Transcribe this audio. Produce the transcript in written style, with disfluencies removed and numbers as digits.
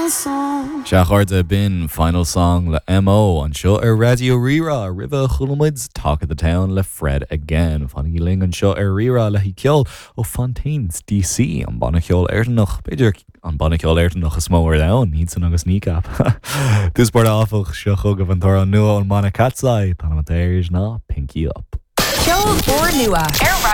Final song. Sea, a chairde, b'in Final Song le MO anseo ar Raidió Rí-Rá. Roimhe chuala muid Talk of the Town le Fred Again. Fanaigí linn anseo ar Rí-Rá le haghaidh ceol ó Fontaines DC, an banna ceoil Éireannach, b'fhéidir an banna ceoil Éireannach is mó ar domhan, iadsan agus Kneecap. Dtús báire áfach, seo chugaibh an t-amhrán nua ón mbanna Cat's Eye, an t-ainm atá air ná Pinky Up. Ceol úrnua ar Raidió.